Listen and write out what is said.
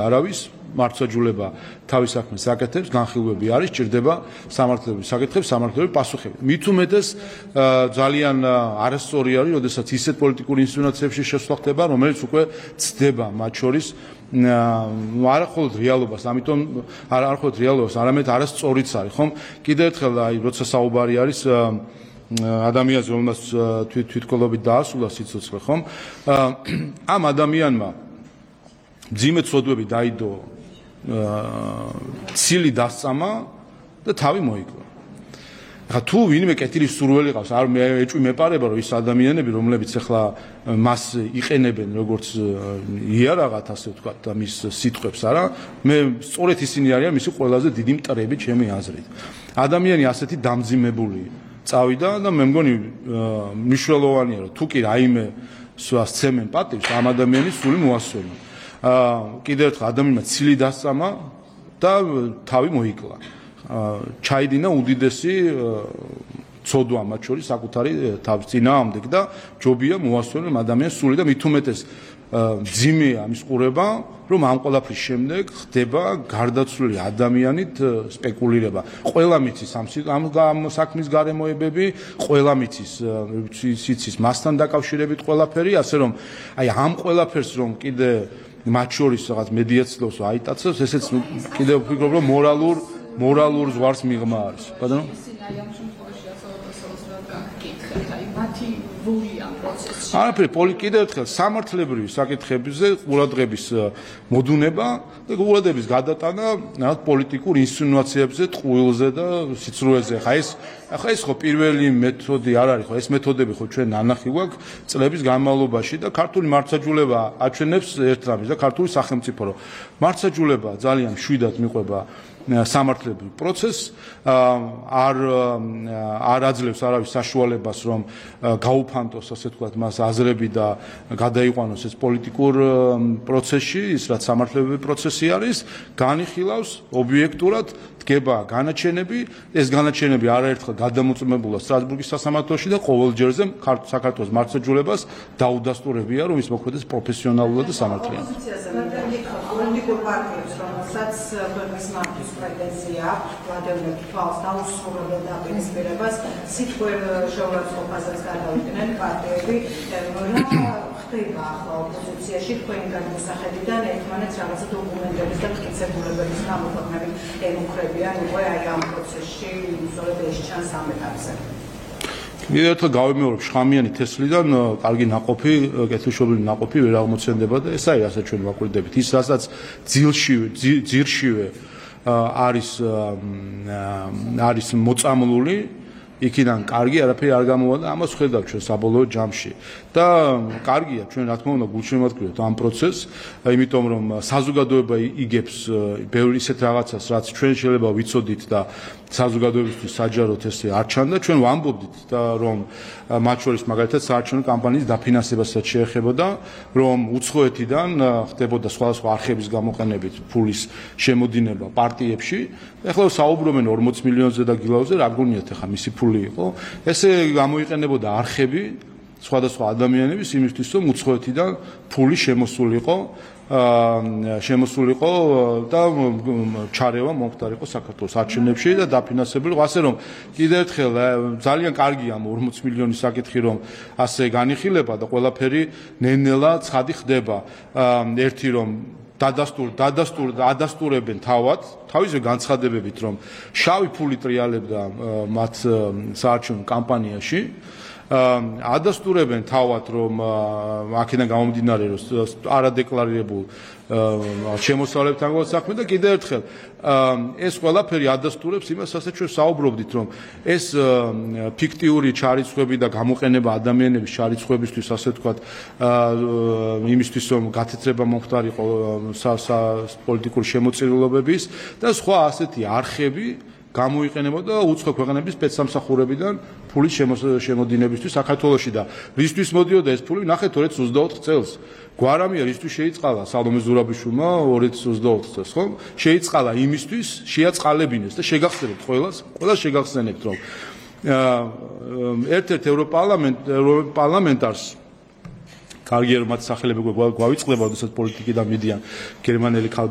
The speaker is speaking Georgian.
არავის მართლმსაჯულება თავის საქმეს აკეთებს, განხილვები არის, ჭირდება სამართლებრივი საკითხებს, სამართლებრივი პასუხები. მით უმეტეს ძალიან არასწორი არის, როდესაც ისეთ პოლიტიკურ ინსცენაციებში შესვლა ხდება, რომელიც უკვე ცდება მათ შორის არა მხოლოდ რეალობას, ამიტომ არა მხოლოდ რეალობას, არამედ არასწორიც არის, ხომ? კიდევ ერთხელ აი როცა საუბარი არის ადამიანს, რომელსაც თვითმკვლელობით დაასრულა სიცოცხლე, ხომ? ამ ადამიანმა მძიმე ცოდვები დაიდო, ცილი დასწამა და თავი მოიკლა. ახლა თუ ვინმე კეთილის სურველი ყავს, არ ეჭვი მეპარება, რომ ის ადამიანები, რომლებიც ახლა მას იყენებენ როგორც იარაღად, ასე ვთქვათ, და მის სიტყვებს არა, მე სწორედ ისინი არიან მისი ყველაზე დიდი მტრები ჩემი აზრით. ადამიანი ასეთი დამძიმებული წავიდა და მე მგონი მნიშვნელოვანია, რომ თუ კი რაიმე სცემენ პატივს, ამ ადამიანის სული მოასწორონ. კიდევ ერთხელ ადამიანმა ცილი დასწამა და თავი მოიკლა. ჩაიდინა უდიდესი ცოდვა მათ შორის საკუთარი თავის წინააღმდეგ და ჯობია მოასწორონ ადამიანის სული და მით უმეტეს მძიმეა მის ყურება, რომ ამ ყველაფრის შემდეგ ხდება გარდაცვლილი ადამიანით სპეკულირება. ყველა მიცის ამ საქმის გარემოებები, ყველა მიცის მასთან დაკავშირებით ყველაფერი, ასე რომ აი ამ ყველაფერს რომ კიდე მათ შორის რაღაც მედიაცილოს აიტაცებს, ესეც კიდევ ვფიქრობ, რომ მორალურ ზღვარს მიღმა არის. ბატონო? არაფერი, კიდევ ერთხელ სამართლებრივი საკითხებზე ყურადღების მოდუნება და ყურადღების გადატანა პოლიტიკურ ინსცენაციებზე, ტყუილზე და სიცრუეზე. ახლა ეს ხო პირველი მეთოდი არ არის, ხო ეს მეთოდები ხო ჩვენ ნანახი გვაქვს წლების განმავლობაში და ქართული მართლმსაჯულება აჩვენებს ერთ რამეს და ქართული სახელმწიფო რომ მართლმსაჯულება ძალიან მშვიდად მიყვება სამართლებრივ პროცესს, არ აძლევს არავის საშუალებას, რომ გაუფანტოს, ასე ვთქვათ, მას აზრები და გადაიყვანოს ეს პოლიტიკურ პროცესში, ის რაც სამართლებრივი პროცესი არის, განიხილავს ობიექტურად, დგება განაჩენები, ეს განაჩენები არაერთხელ გადამოწმებულა სტრასბურგის სასამართლოში და ყოველ ჯერზე საქართველოს მართლმსაჯულებას დაუდასტურებია, რომ ის მოქმედდეს პროფესიონალურად და სამართლიანად. პოლიტიკურ პარტიებს, რომელსაც ქვეყნის მართვის პრეტენზია აქვს, ვადევნებ თვალს დაუსრულებელ დაპირისპირებას, სიტყვერ შეურაცხყოფასაც გადავიდნენ პარტიები, რა ხდება ახლა ოპოზიციაში თქვენი გადმოსახედიდან ერთმანეთს რაღაცა დოკუმენტების და მტკიცებულებების გამოქვეყნებით ემუქრებიან უკვე აი ამ პროცესში, სწორედ ეს ჩანს ამ ეტაპზე. კიდევ ერთხელ გავიმეორებ, შხამიანი თესლიდან კარგი ნაყოფი, კეთილშობილი ნაყოფი ვერ აღმოცენდება და ეს ასე ჩვენ ვაკვირდებით. ის რასაც ძირშივე არის მოწამლული, იქიდან კარგი არაფერი არ გამოვა და ამას ხედავთ ჩვენ საბოლოო ჯამში. და კარგია ჩვენ რა თქმა უნდა გულშემატკივრებთ ამ პროცესს, იმიტომ რომ საზოგადოება იგებს ბევრი ისეთ რაღაცას, რაც ჩვენ შეიძლება ვიცოდით და საზოგადოებისთვის საჯაროდ ესე არ ჩანდა, ჩვენ ვამბობდით და რომ მათ შორის მაგალითად საარჩევნო კამპანიის დაფინანსებასაც შეეხებოდა, რომ უცხოეთიდან ხდებოდა სხვადასხვა არხების გამოყენებით ფულის შემოდინება პარტიებში. ეხლა საუბრობენ 40 მილიონზე და გილაუზე, რა გონიათ ახლა მისი ფული იყო. ესე გამოიყენებოდა არხები სხვადასხვა ადამიანების იმისთვის, რომ უცხოეთიდან ფული შემოსულიყო და ჩარევა მომხდარიყო საქართველოს არჩევნებში და დაფინანსებულიყო. ასე რომ კიდევ ერთხელ ძალიან კარგია ამ 40 მილიონის საკითხი, რომ ასე განიხილება და ყველაფერი ნელ-ნელა ცხადი ხდება. ერთი რომ ადასტურებენ თავისზე განცხადებებით, რომ შავი ფული ტრიალებდა მათ საარჩევნო კამპანიაში. ადასტურებენ თავად, რომ აქედან გამომდინარე, რომ არადეკლარირებულ შემოსავლებთან საქმე და კიდევ ერთხელ ეს ყველაფერი ადასტურებს იმას, რასაც ჩვენ საუბრობდით, რომ ეს ფიქტიური ჩარიცხვები და გამოყენება ადამიანების ჩარიცხვებისთვის, ასე ვთქვათ, იმისთვის, რომ გათეთრება მომხდარიყო პოლიტიკური შემოწირულობების და სხვა ასეთი არხები გამოიყენებოდა უცხო ქვეყნების სპეცსამსახურებიდან ფულის შემოდინებისთვის საქართველოში და რისთვის მოდიოდა ეს ფული? ნახეთ 2024 წელს. გვარამია რისთვის შეიწყალა სალომე ზურაბიშვილმა 2024 წელს, ხო? შეიწყალა იმისთვის, შეაწყალებინეს და შეგახსენებთ ყველას შეგახსენებთ, რომ ერთ-ერთ ევროპარლამენტარს კარგი რომ მათ სახელები გვავიწყდება, როდესაც პოლიტიკიდან მიდიან გერმანელი ქალბატონი